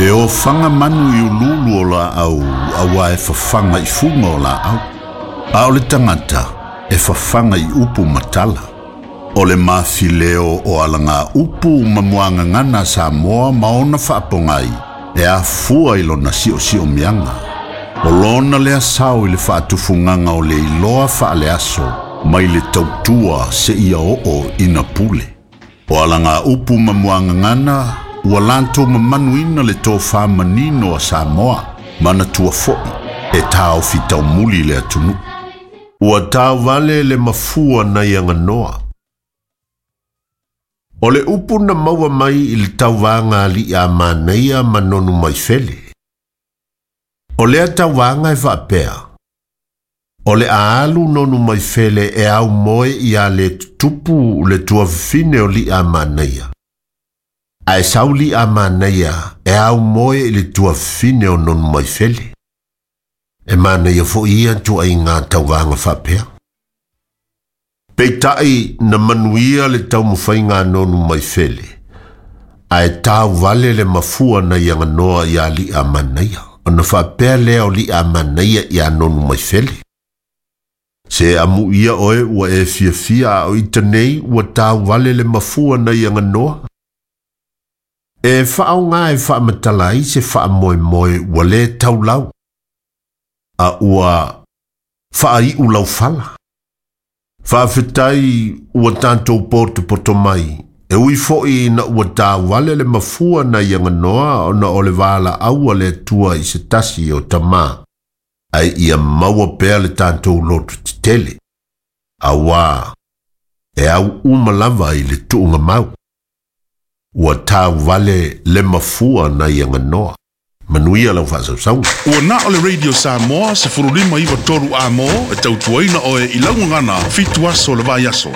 E ofaga manu i uluulu o laau auā e fafaga i fuga o laau. A o le tagata e fafaga i upu ma tala. O le mafileo o alagaupu ma muagagana a Samoa ma ona faapogai e afua i lona siosiomiaga. O lona lea sao i le faatufugaga o le iloa faaleaso mai le tautua seia oo ina pule. O alagaupu ma muagagana ua latou mamanuina le tofa manino a Samoa, manatua foi e taofi taumuli le atunuu. Ua tauvale le mafua nai aganoa. O le upu na maua mai i le tauvaga a Liamanaia ma Nonumaifele. O lea tauvaga e faapea, o le a alu Nonumaifele e aumoe ia Letutupu le tuafafine o Liamanaia. Ae sau Liamanaia e aumoe i le tuafafine o Nonumaifele. E manaia foi ia ituaiga tauvaga faapea. Peitai na manuia le taumafaiga a Nonumaifele, ae tauvale le mafua nai aganoa ia Liamanaia, ona faapea lea o Liamanaia ia Nonumaifele. Se amuia oe ua e fiafia a o ita nei ua tauvale le mafua nai aganoa. E faaaoga e faamatala ai se faamoemoe ua le taulau, a ua faaiu laufala. Faafetai ua tatou potopoto mai, e ui foi ina ua tauvale le mafua nai aganoa ona o le valaau a le Atua i se tasi o tama, ae ia maua pea le tatou loto tetele, auā e au uma lava i le tuugamau. Ua tauvale le mafua nai aganoa. Manuia lau faasausauga. Ua na o le Radio Samoa 1593 Amo e tautuaina oe i lau gagana 7 aso o le vaiaso.